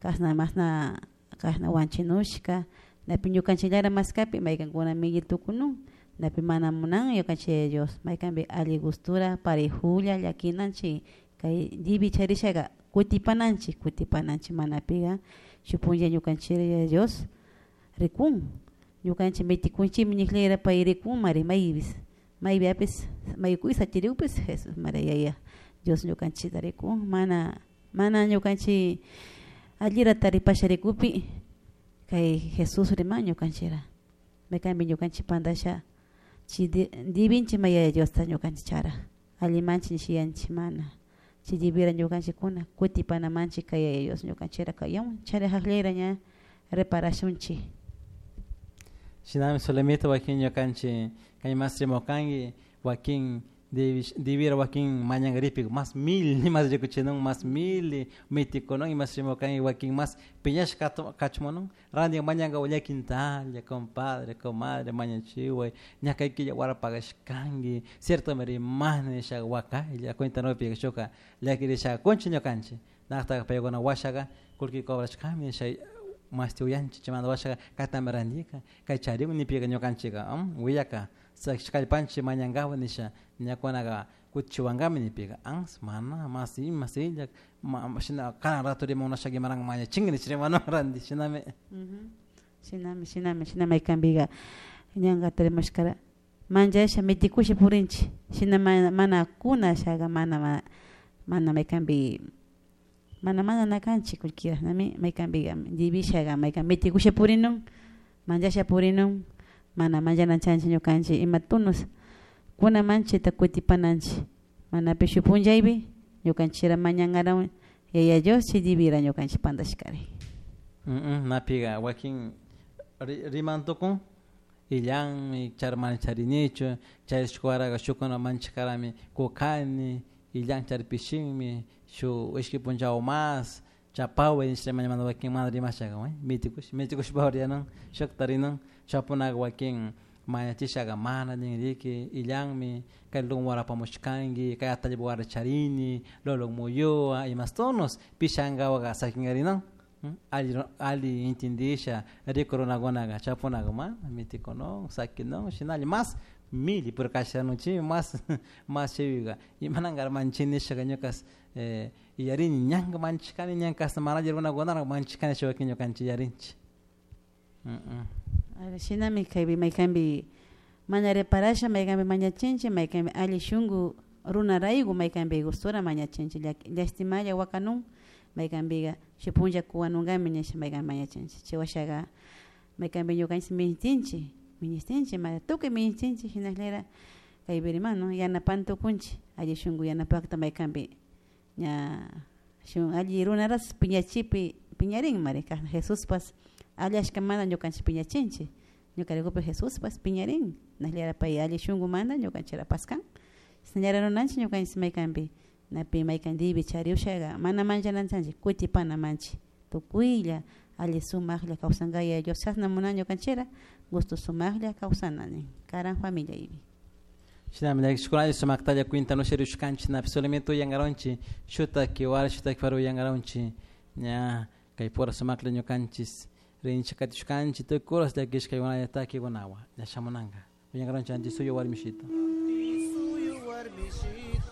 Kashna mashna kashna wanchinushka napi ñukanchillara maskapi maykankuna milli tukunun napi mana munan ñukanchik Yaya Dios maykanpi alli gustura parejulla llakinanchik kay divi charishaka kutipananchik kutipananchik manapiga shuk punlla ñukanchik Yaya Dios rikun ñukanchik mitikunchikmi nikllera pay rikunmari maypis maypiapis maykuy satirikpis Jesus Maria Yaya Dios ñukanchikta rikun mana mana ñukanchik allira taripasha rikupi kay Jesus riman ñukanchikra maykanpi ñukanchik pantasha chay divinchik may Yaya Diosta ñukanchik chara allimanchik nishiyanchik mana chay divira ñukanchikkuna kutipanamanchik kay Yaya Dios ñukanchikra kayawan charijaqllera ña reparashunchik. Shinami Zulemita wakin ñukanchik kay mas rimukanki wakin divira wakin mañankaripik mas mil mas rikuchinun mas mil mitikunun imas rimukanki wakin mas piñashka kachumunun ranti mañanka llaquintalla compadre, comadre mañachiway ña kay killa wara pagashkanki ciertomi rimani nisha wakaylla cuenta nupika shuka llakirisha kunchik ñukanchik nakta paykuna washaka kullki cobrashkami nisha mashti uyanchik chaymanta washaka kaytami randika kay charikun nipika ñukanchika willaka kallpanchik mañankapak nisha ñakunaka kutichiwankami nipika ansa mana mas ima illak shina kanan rato rimamunashaka imaranka mañachinki nish rimanun ranti shinami. Shinami shinami shinami maykanpika ñankata rimashkara manchasha mitikusha purinchik shina mana mana kunashaka mana mana maykanpi mana mana nakanchik kullkira nami maykanpika divishaga maykan mitikusha purinun manchasha purinun mana manchanachanchik ñukanchik ima tunos kunamanchikta kutipananchik manapish shuk punllaypi ñukanchikra mañankarawun Yaya Dios chay divira ñukanchik pantashkari. Napika wakin rimantukun illanmi char mana charinichu charishkuwaraka shukuna manchakarami kukani illan charpishinmi shuk ishki punchaw mas chapaway nisha mañamanta wakin mana rimashaka mitikush mitikushpa riyanun shukta rinun chapunaka wakin mañachishaka mana ninriki illanmi kay wara apamushkanki kay atallpa wara charini lolo muyuwa imas tonos pishankawaka sakinkarinan alli alli entendisha riku runakunaka chapunaka mana mitikunun sakinun shinalla mas milli pero kashanunchikmi mas mas chaypika imanankara manchinishaka ñuka yarini ñanka manchikani ñanka hasta mana alli runakunara manchikani chay wakin ñukanchik yarinchik. Shinami kaypi maykanpi mana reparasha maykanpi mañachinchik maykanpi alli shunku runarayku maykanpi gustura mañachinchik llashtimalla wakanun maykanpika shuk punlla kuwanunkami nisha maykan mañachinchik chay washaka maykanpi ñukanchik ministinchik ministinchik mana tukuy ministinchik shinallera kaypi riman no yanapan tukunchik alli shunku yanapakta maykanpi ña shuk alli runaras piñachipi piñarinmari kashna Jesuspas allashkamanta ñukanchik piñachinchik ñukaraykupi Jesuspas piñarin nashllara pay alli shunkumanta ñukanchikra paskan chashnallara runanchik ñukanchik maykanpi napi maykan divi chariushaka mana manchanachanchik kutipanamanchik tukuylla alli sumaklla kawsanka Yaya Dios chashna munan ñukanchikra gusto sumaklla kawsana nin karan familiaypi. Shinami llakishkunalla sumaktalla cuentanusha rishkanchik napi solamente uyankaronchik shutak wara shutak wara uyankaronchik ña kay pura sumaklla ñukanchik rinchik katishkanchik tukuy horas llakishkaykunalla takikunawan ña shamunanka uyankaronchik Antisuyo warmishito. Antisuyo warmishito.